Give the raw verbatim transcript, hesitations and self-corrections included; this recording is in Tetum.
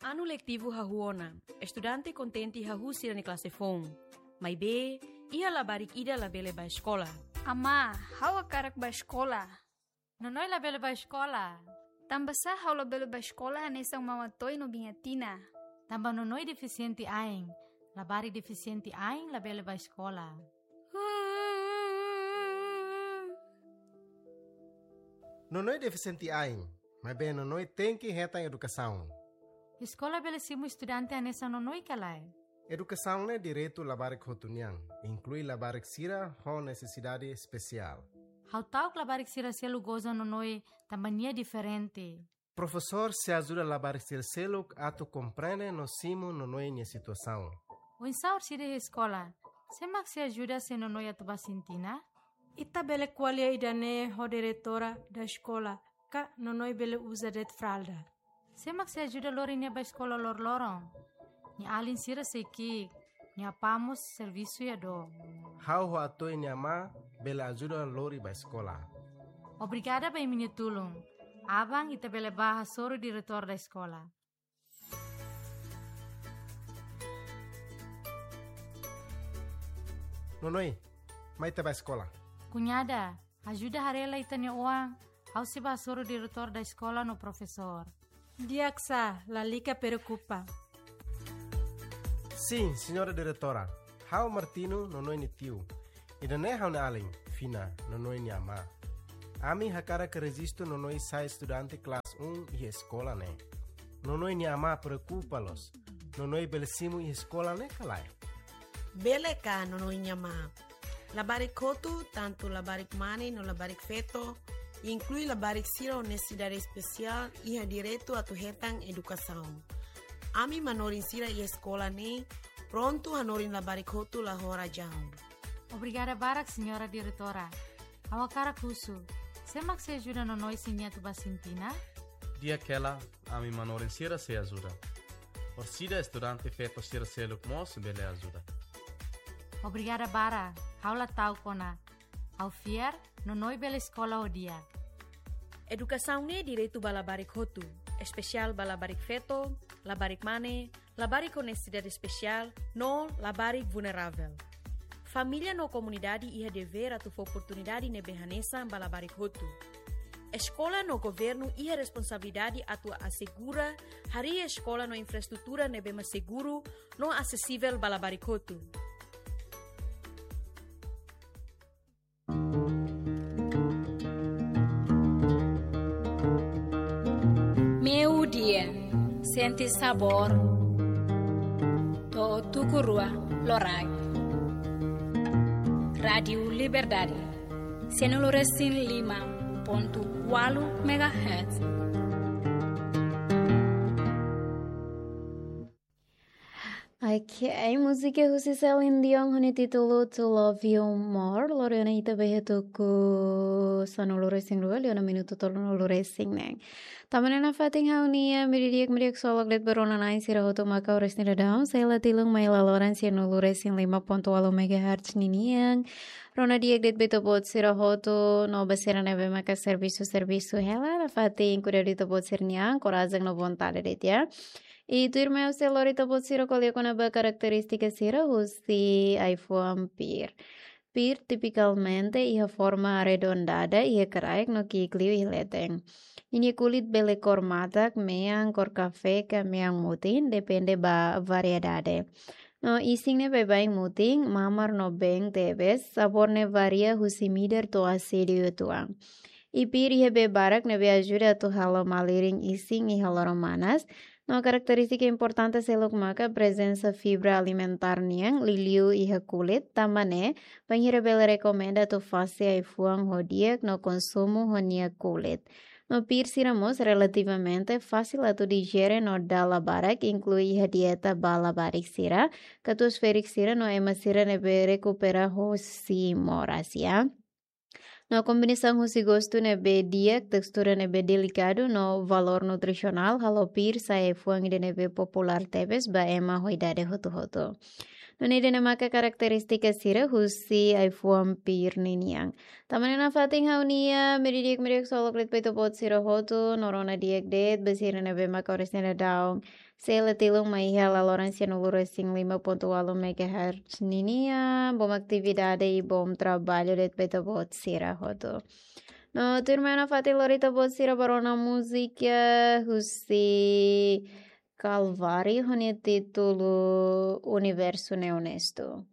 Anu letivu hahú ona, estudante kontente hahú sira-nia klase foun. Maibé, iha labarik ida labele bá eskola. Amá, ha'u hakarak bá eskola. Nonoi labele bá eskola. Tanbasá ha'u labele bá eskola hanesan mama Toy no biin Atina? Tanba Nonoi defisiente ain. Labarik defisiente ain labele bá eskola. Nonoi defisiente ain, maibé Nonoi tenke hetan edukasaun. Eskola bele simu estudante hanesan Nonoi ka lae? Edukasaun ne'e direitu labarik hotu nian, inklui labarik sira ho nesesidade espesiál. Ha'u ta'uk labarik sira seluk goza Nonoi tanba nia diferente. Profesór sei ajuda labarik sira seluk atu komprende no simu Nonoi nia situasaun. Oinsá orsida iha eskola? Sé mak sei ajuda se Nonoi atu bá sintina? Ita bele ko'alia ida-ne'e ho diretora da eskola, ka Nonoi bele uza de'it fralda. Sé mak sei ajuda lori nia bá eskola loroloron? Nia alin sira sei ki'ik, nia apá mós servisu iha dook. Ha'u ho Atoy nia amá bele ajuda lori bá eskola. Obrigada ba imi-nia tulun. Aban ita bele bá hasoru diretór da eskola. Nonoi, mai ita bá eskola. Kuñada, ajuda haree lai ita-nia oan, ha'u sei bá hasoru diretór da eskola no profesór. Di'ak sá, lalika preokupa. Sin, señora diretora. Ha'u Martino, Nonoi nia tiu. Ida-ne'e ha'u-nia alin, Fina, Nonoi nia amá. Ami hakarak rejistu Nonoi sai estudante klase un iha eskola ne'e. Nonoi nia amá preokupa loos. Nonoi bele simu iha eskola ne'e ka lae? Bele ka, Nonoi nia amá. Labarik hotu, tantu labarik mane no labarik feto, inklui labarik sira ho nesesidade espesiál, iha direitu atu hetan edukasaun. Ami manorin sira iha eskola ne'e prontu hanorin labarik hotu la ho razaun. Obrigada barak, señora diretora. Ha'u hakarak husu, sé mak sei ajuda Nonoi se nia atu bá sintina? Di'ak hela, ami manorin sira sei ajuda. Orsida estudante feto sira seluk mós bele ajuda. Obrigada barak, ha'u la ta'uk ona. Ha'u fiar, Nonoi bele eskola ho di'ak. Edukasaun ne'e direitu ba labarik hotu, espesiál ba labarik feto, labarik mane, labarik ho nesesidade espesiál, no labarik vulneravel. Família no komunidade iha devér atu fó oportunidade ne'ebé hanesan ba labarik hotu. Eskola no governu iha responsabilidade atu asegura harii eskola no infraestrutura ne'ebé mak seguru no asesivel ba labarik hotu. Meiudia, sente sabór to'o tuku rua loraik. Rádiu Liberdade, sanulu resin lima pontu ualu megahertz. Ok, múzika husi Celine Dion ho nia títulu To Love You More. Lori ona ita ba iha tuku sanulu resin rua, liu ona minutu tolunulu resin neen. Tanba ne'e nafatin ha'u-nia meiudia di'ak, meiudia di'ak solok de'it ba rona-na'in sira hotu maka oras ne'e daudaun, sei la tilun mai laloran sanulu resin lima pontu ualu megahertz ninian. Rona di'ak de'it ba ita-boot sira hotu no ba sira ne'ebé maka servisu, servisu hela, nafatin kuidadu ita-boot sira-nia an, korajen no vontade de'it, ya. I tuirmai ha'u sei lori ita-boot sira ko'alia kona-ba karakterístika sira husi ai-fuan pir. Pir tipikalmente iha forma arredondada iha kraik no ki'ik liu iha leten. Ninia kulit bele kór matak, mean, kór kafé ka mean mutin, depende ba variedade. No isin ne'e baibain mutin, mamar no been tebes, sabór ne'e varia husi midar to'o asediu uitoan. I pir iha bee barak ne'ebé ajuda atu halo malirin isin iha loron manas. No karakterístika importante seluk maka prezensa fibra alimentár nian liuliu iha kulit, tanba ne'e bainhira bele rekomenda atu fase ai-fuan ho di'ak no konsumu ho nia kulit. No pir sira mós relativamente fasil atu dijere no dala barak inklui iha dieta ba labarik sira, katuas-ferik sira no ema sira ne'ebé rekupera hosi moras, ya. No kombinasaun husi gostu ne'ebé di'ak, testura ne'ebé delikadu no valór nutrisionál halo pir sai ai-fuan ida ne'ebé populár tebes ba ema ho idade hotu-hotu. No ida-ne'e maka karakterístika sira husi ai-fuan pir ninian. Tama ona nafatin ha'u-nia meri di'ak, meri di'ak ksolok de'it ba ita-boot sira hotu, no rona di'ak de'it ba sira ne'ebé maka oras ne'e daudaun sei la tilun mai iha laloran sianulu resin lima pontu ualu megahertz ninian. Bom atividade i bom traballu de'it ba ita-boot sira hotu. No tuirmai nafatin lori ita-boot sira ba rona múzika husi Calvário ho nia títulu Universo Ne'e Onesto.